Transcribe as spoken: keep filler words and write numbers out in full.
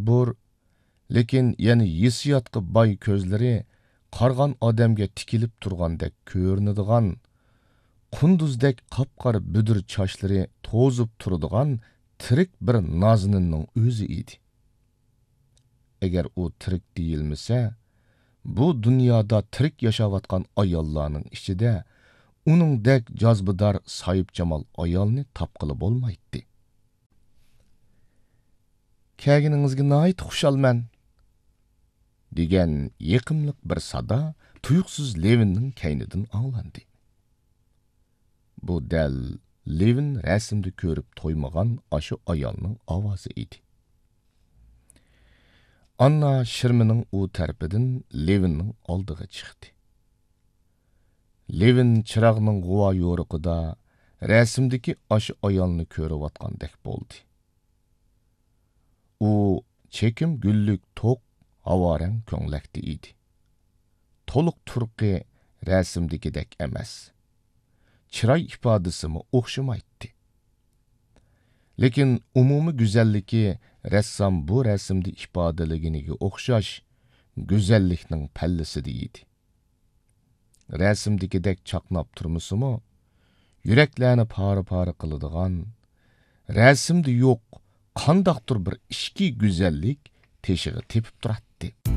بۇر، لېكىن يەنە ھېسسىياتقا باي كۆزلىرى قارىغان ئادەمگە تىكىلىپ تۇرغاندەك كۆرۈنىدىغان، قۇندۇزدەك قاپقارا بۈدۈر چاچلىرى توزۇپ تۇرىدىغان تىرىك بىر نازىنىننىڭ ئۆزى ئىدى. ئەگەر ئۇ تىرىك دېيىلمىسە، بۇ دۇنيادا تىرىك ياشاۋاتقان ئاياللارنىڭ ئىچىدە ئۇنىڭدەك جازبىدار ساھىبجامال ئايالنى تاپقىلى بولمايتتى. «كەلگىنىڭىزگە ناھايىتى خۇشالمەن» دېگەن يېقىملىق بىر سادا تۇيۇقسىز لېۋىننىڭ كەينىدىن ئاڭلاندى. بۇ دەل لېۋىن رەسىمدە كۆرۈپ تويمىغان ئاشۇ ئايالنىڭ ئاۋازى ئىدى. ئاننا شىرمىنىڭ ئۇ تەرىپىدىن لېۋىننىڭ ئالدىغا چىقتى. لېۋىن چىراغنىڭ غۇۋا يورۇقىدا رەسىمدىكى ئاشۇ ئايالنى كۆرۈۋاتقاندەك بولدى. ئۇ چېكىم گۈللۈك توق ھاۋارەڭ كۆڭلەكتە ئىدى. تولۇق تۇرقى رەسىمدىكىدەك ئەمەس. چىراي ئىپادىسىمۇ ئوخشىمايتتى. لېكىن ئومۇمىي گۈزەللىكى رەسسام بۇ رەسىمدە ئىپادىلىگىنىگە ئوخشاش گۈزەللىكنىڭ پەللىسىدە ئىدى. رەسىمدىكىدەك چاقناپ تۇرمىسىمۇ، يۈرەكلەرنى پارە-پارە قىلىدىغان، رەسىمدە يوق قانداقتۇر بىر ئىچكى گۈزەللىك تېشىغا تېپىپ تۇراتتى.